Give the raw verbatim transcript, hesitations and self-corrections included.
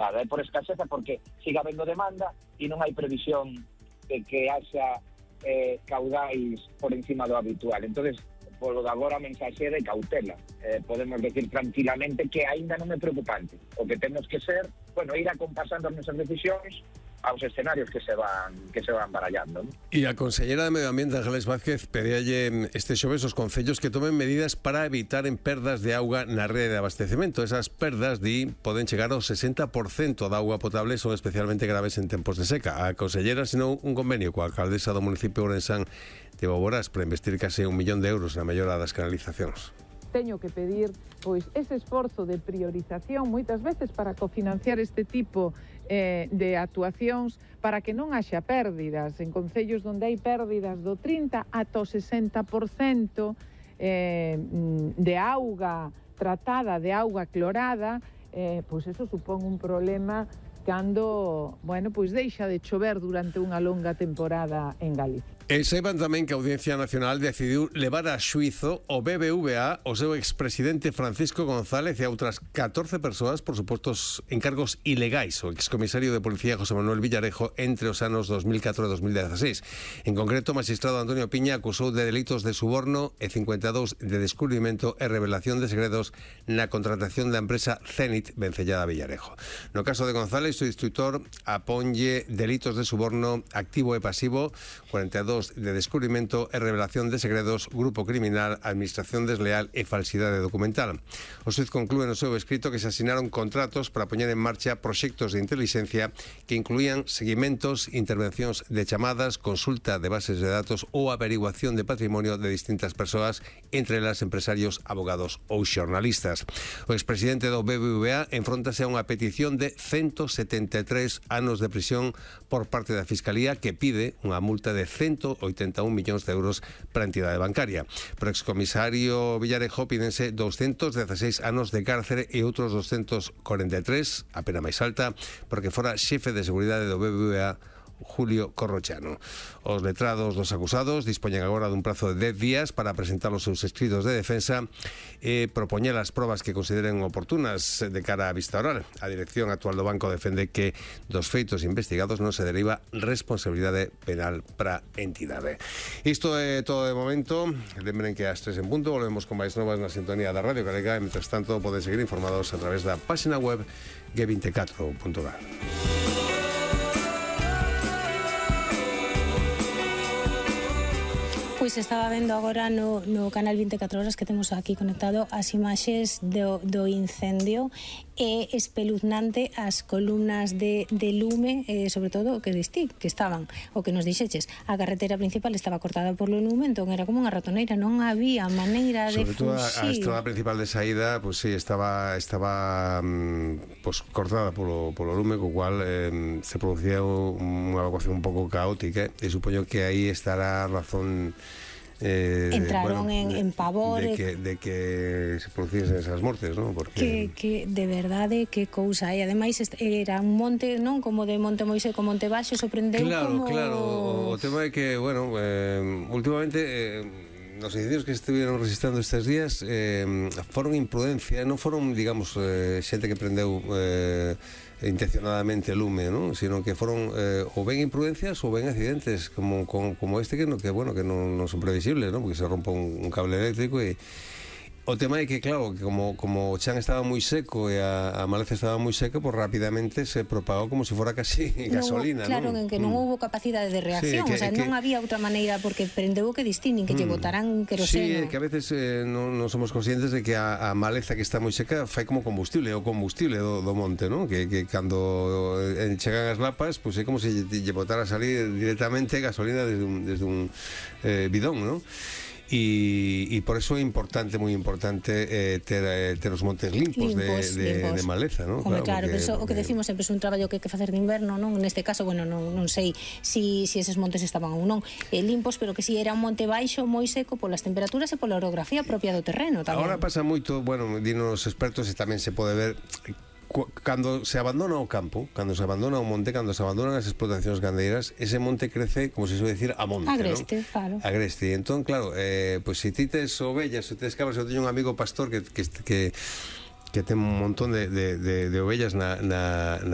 é por escaseza porque siga habendo demanda e non hai previsión de que haxa eh, caudais por encima do habitual. Entonces, polo de agora a mensaxe é de cautela. Eh, podemos decir tranquilamente que aínda non é preocupante. O que temos que ser, bueno, ir acompasando as nosas decisións aos escenarios que se van que se van barallando, ¿no? E a Consellera de Medio Ambiente, Ángeles Vázquez, pedíalle este xoves aos concellos que tomen medidas para evitar en perdas de auga na rede de abastecemento. Esas perdas, di, poden chegar ao sesenta por cento da auga potable, son especialmente graves en tempos de seca. A Consellera asinou un convenio coa alcaldesa do municipio ourensán de Boborás para investir case un millón de euros na mellora das canalizacións. Teño que pedir pois ese esforzo de priorización moitas veces para cofinanciar este tipo eh, de actuacións para que non haxa pérdidas en concellos onde hai pérdidas do trinta ata o sesenta por cento eh, de auga tratada, de auga clorada, eh, pois eso supón un problema cando, bueno, pois deixa de chover durante unha longa temporada en Galicia. E saiban tamén que a Audiencia Nacional decidiu levar a xuízo o B B V A, o seu expresidente Francisco González e a outras catorce persoas por supostos encargos ilegais. O excomisario de Policía José Manuel Villarejo entre os anos dos mil catro e dos mil dieciséis. En concreto, o magistrado Antonio Piña acusou de delitos de suborno e cincuenta e dous de descubrimento e revelación de segredos na contratación da empresa Zenit vencellada a Villarejo. No caso de González, o instructor aponlle delitos de suborno activo e pasivo, cuarenta e dous de descubrimento e revelación de segredos, grupo criminal, administración desleal e falsidade documental. O xuíz conclúe no seu escrito que se asinaron contratos para poñer en marcha proxectos de intelixencia que incluían seguimentos, intervencións de chamadas, consulta de bases de datos ou averiguación de patrimonio de distintas persoas, entre elas empresarios, abogados ou xornalistas. O expresidente do B B V A enfróntase a unha petición de ciento setenta e tres anos de prisión por parte da Fiscalía, que pide unha multa de ciento oitenta e un millóns de euros para a entidade bancaria. Pero o excomisario Villarejo pídense doscientos dieciséis anos de cárcere e outros doscientos cuarenta e tres, a pena máis alta, porque fora xefe de seguridade do B B V A Julio Corrochano. Os letrados dos acusados dispoñen agora dun prazo de dez días para presentar os seus escritos de defensa e propoñer as probas que consideren oportunas de cara á vista oral. A dirección actual do banco defende que dos feitos investigados non se deriva responsabilidade penal para a entidade. Isto é todo de momento. Lembren que ás tres en punto volvemos con máis novas na sintonía da Radio Galega e, mentres tanto, poden seguir informados a través da página web ge veinticuatro punto gal. Pois estaba vendo agora no, no canal veinticuatro horas que temos aquí conectado as imaxes do, do incendio. É espeluznante as columnas de, de lume, eh, sobre todo o que distí, que estaban, o que nos dixeches, a carretera principal estaba cortada por o lume, entón era como unha ratoneira, non había maneira de sobre todo fuxir. A, a estrada principal de saída, pues sí, estaba estaba pues cortada polo, polo lume, co cual eh, se producía unha evacuación un pouco caótica, e supoño que aí estará a razón. Eh, entraron bueno, en, en pavor de que, de que se produciesen esas mortes, ¿no? Porque que, que de verdade que cousa, e ademais era un monte, non, como de Monte Moisés con Monte Baixo, sorprendeu claro, como... claro, o tema é que, bueno, eh, últimamente eh, nos incendios que estuvieron registrando estes días eh, foron imprudencia, non foron, digamos, eh, xente que prendeu eh, intencionadamente lume, ¿no? Sino que foron eh, ou ben imprudencias ou ben accidentes como, como, como este que, no, que, bueno, que non, non son previsibles, ¿no? Porque se rompe un, un cable eléctrico e o tema é que, claro, que como, como o chan estaba moi seco e a, a maleza estaba moi seca, pues rapidamente se propagou como se fora casi gasolina, non, claro, ¿no? en que non mm. houbo capacidade de reacción, sí, que, o sea, que, non había outra maneira, porque prendeu que distin, que mm. lle botarán queroseno. Sí, que a veces eh, non, non somos conscientes de que a, a maleza que está moi seca fai como combustible, o combustible do, do monte, ¿no? Que, que cando eh, chegan as lapas, pues é como se lle, lle botara a salir directamente gasolina desde un, desde un eh, bidón, ¿no? E, e por eso é importante, moi importante eh, ter, eh, ter os montes limpos, limpos, de, de, limpos. de maleza, ¿no? Hombre, claro, porque, eso, porque... o que decimos sempre é un traballo que hai que facer de inverno, non? Neste caso, bueno, non, non sei si, si eses montes estaban ou non eh, limpos, pero que si era un monte baixo moi seco polas temperaturas e pola orografía propia do terreno tamén. Agora pasa moito, bueno, dinos os expertos, e tamén se pode ver cando se abandona o campo, cando se abandona o monte, cando se abandonan as explotacións gandeiras, ese monte crece, como se suele decir, a monte, agreste, ¿no? Claro. Agreste. Entón, claro, eh, pues se si ti tes ovellas, se tes cabras, eu teño un amigo pastor que, que, que que ten un montón de, de, de, de ovellas na, na, na